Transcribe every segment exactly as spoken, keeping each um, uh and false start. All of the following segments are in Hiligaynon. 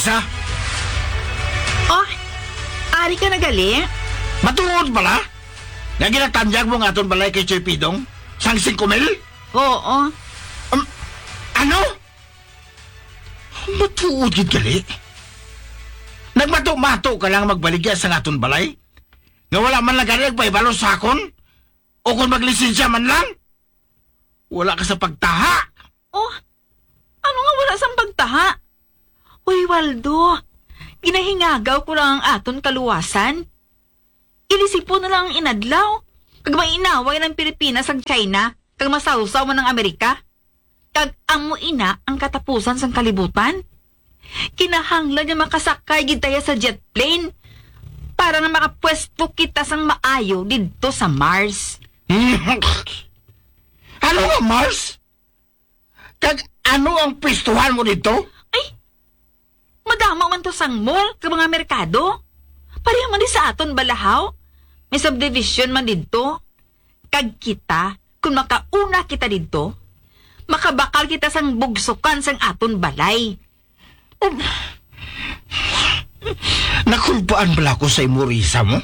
Sa? Oh, ari ka na gali? Matuod bala nga ginatanyag mo ang aton balay kay Choy Pidong sang singko mil? Oo. Um, ano? Matuod gid gali? Nagmato-mato ka lang magbaligya sang aton balay? Nga wala man lang gani nagpahibalo sa akon? O kon maglisensya man lang? Wala ka sa pagtaha. Oh, ano nga wala sang pagtaha? Uy, Waldo, ginahingagaw ko lang ang aton kaluwasan. Ilisipon na lang ang inadlaw, kag mainaway ang Pilipinas kag China, kag masawsaw man ang Amerika. Kag amo ina ang katapusan sang kalibutan. Kinahanglan nga makasakay gid tayo sa jet plane para nga makapwesto kita sang maayo didto sa Mars. Ano nga Mars? Kag ano ang pwestuhan mo didto? Ay, madamo man to sang mall kag mga merkado. Pareho man di sa aton balahaw. May subdivision man didto. Kag kita, kung makauna kita didto, makabakal kita sang bugsukan sang aton balay. Um, nakulbaan bala ko sa imo, Risa mo?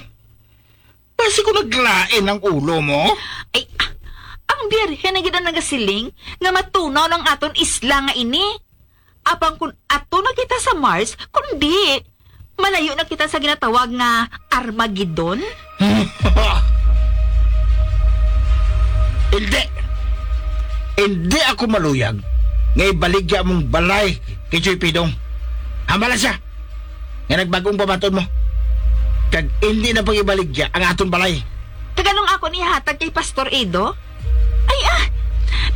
Basi ko naglain ang ulo mo? Ay, ah, ang Birhen na gid ang nagasiling nga matunaw lang aton isla nga ini. Apang kun ato na kita sa Mars, kundi malayo na kita sa ginatawag nga Armageddon? Hindi. Hindi ako maluyag nga ibaligya mong balay kay Choy Pidong. Hambala siya nga nagbag-ong pamaton mo. Kag hindi na pag-ibaligya ang aton balay. Kag anong ako ni hatag kay Pastor Edo? Ay, ah,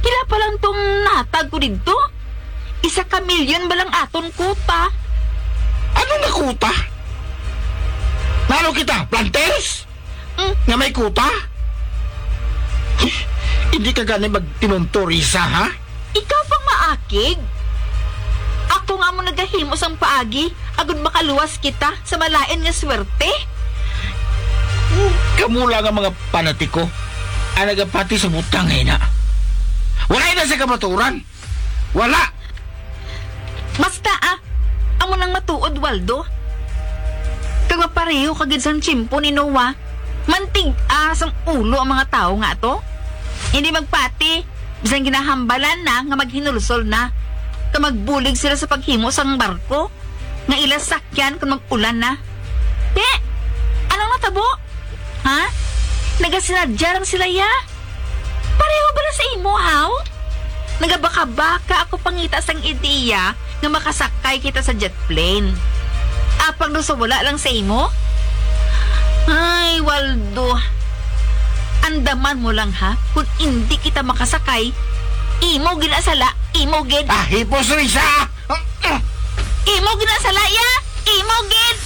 pila pa lang tong natag ko didto? Isa ka milyon ba lang aton kuta? Ano nga kuta? Nano kita, planters? Mm. Nga may kuta? Hindi ka gani magtinunto, Risa, ha? Ikaw pang maakig? Ako nga mo nagahimo sang paagi agud makaluwas kita sa malain nga swerte. Kamo lang ang mga panatiko ang nagapati sa butang nga ina. Wala na sa kamaturan. Wala. Basta, ah, amo nang matuod, Waldo. Kag mapareho ka gid sang tiyempo ni Noah, mantig-a sang ulo ang mga tawo nga ato. Hindi magpati, bisan ginahambalan na nga maghinulsol na, kag magbulig sila sa paghimo sang barko nga ila sakyan kon mag-ulan na. Te, anong natabo? Ha? Nagasinadya lang sila, ya? Pareho bala sa imo, haw? Nagabaka-baka ako pangita sang ideya nga makasakay kita sa jet plane. Apang daw sa wala lang sa imo? Ay, Waldo. Andaman mo lang, ha? Kung indi kita makasakay, imo gid na sala, imo gid. Ah, hipos, Risa! Imo gid na sala, ya! Imo gid!